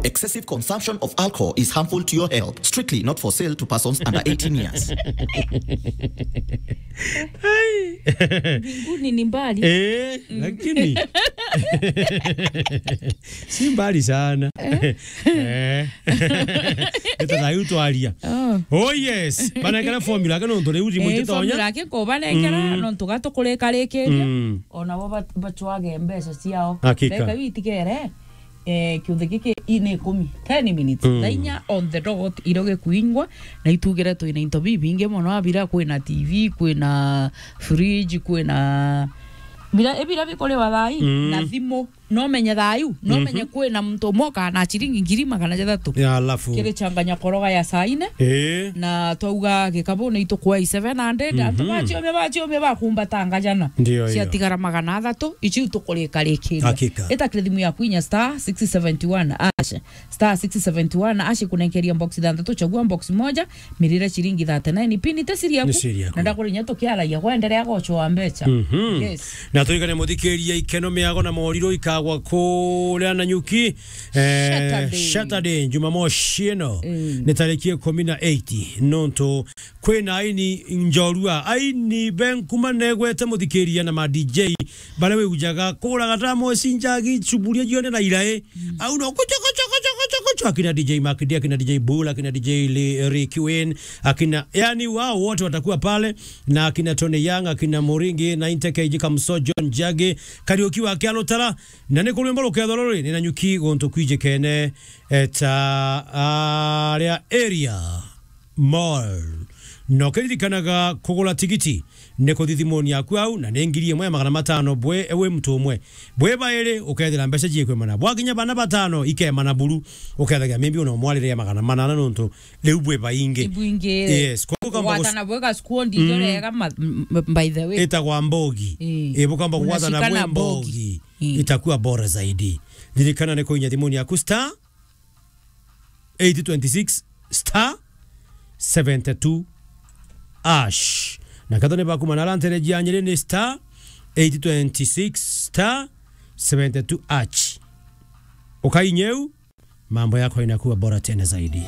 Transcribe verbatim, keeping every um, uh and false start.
Excessive consumption of alcohol is harmful to your health. Strictly not for sale to persons under eighteen years. Mbinguni ni mbali. Eh, lakini si mbali sana. Eh. Ita thayu twaria. Oh. Oh yes, banengera formula ke nontu riu rimu Eh, ntitonya. Formula ke ko banengera, mm, nontu gatukurikarikiria. Mm. Ona bo bat-, bachwage mbeca ciao. Hakika. Ndeka iu itigere, eh, kiuthi giki ini ikumi, ten minutes. Mm. Thaa inya on the dot, irio gikuingwa, na itugire twina into bibingi mono, abira kwina T V, kwina fridge, kwina bira, ebira bikuriwa thaa ii, mm, na thimu. No menye thayu, no menye, mhm, kwina muntu umwe ukana ciringi ngiri magana jathatu. Ya, alafu kiri changanya koroga ya saa ine. Eh. Na twauga gikabu ni itukwai seven hundred, antu, mhm, bachiumia, bachiumia bakumbata ngajana. Ndio hiyo. Ciatigara magana athatu, ici tukurikarikiria. Hakika. Itakire thimu yaku inya star six seventy one hash. Star six seventy one hash kunenkeria box ithanthatu, chagua box moja, mirire ciringi thirty nine. Pini te siri yaku. Ni siri yaku. Na ndakurinya tukiaragia, gwenderea gochwa mbecha. Mhm. Yes. Na turikane muthikiria, ikeno, miago na moriro ikagwa kuria Nanyuki, eh, Saturday. Saturday, Jumamosi ino. Mm. Ni tariki ikumi na eight, nontu kwina aini njorua, aini benkuma negwete muthikiria na ma D J, baria wiujaga kuraga ta mosi njagi chuburia jione na irai. Mm. Au no kucho, kucho, kucho, kucho, kucho, akina D J Makidi, akina D J Bull, akina D J Li-, Ricky Wayne, akina, yani wao wote watakuwa pale, na akina Tony Young, akina Moringi, na Inteke Iji Kamso, John Jage, Kariuki wa Kialutara, na ni kurwimbo rukethwa ruri, ni Nanyuki guntu kwijikene, eta, aria area. Mall. Na ukiririkanaga kugura tigiti ni kuthi thimuni yaku au, na ni ngiri imwe ya magana matano bwe, wi muntu umwe. Bwi bairi, ukethira mbeca ciikwimana. Bwakinya bana batano, ikemana buru, ukethagia maybe una mwarire ya magana manana nontu riu bwi baingi. Ibwingi. Yes, kwa hivyo kamba gwatana bwega squad, mm, ijo rega ma-, m-, m-, by the way. Itagwa mbogi. Ii. Ii, bukamba gwatana bwi mbogi. Ii. Itakuwa bora zaidi. Ririkana ni kuinya thimuni yaku star eight twenty six star seventy two hash. Na kathoni baku manara ntereji ya Nyeri ni star eight twenty six star seventy two hash. Ukainyeu, mambo yako inakuwa bora tena zaidi.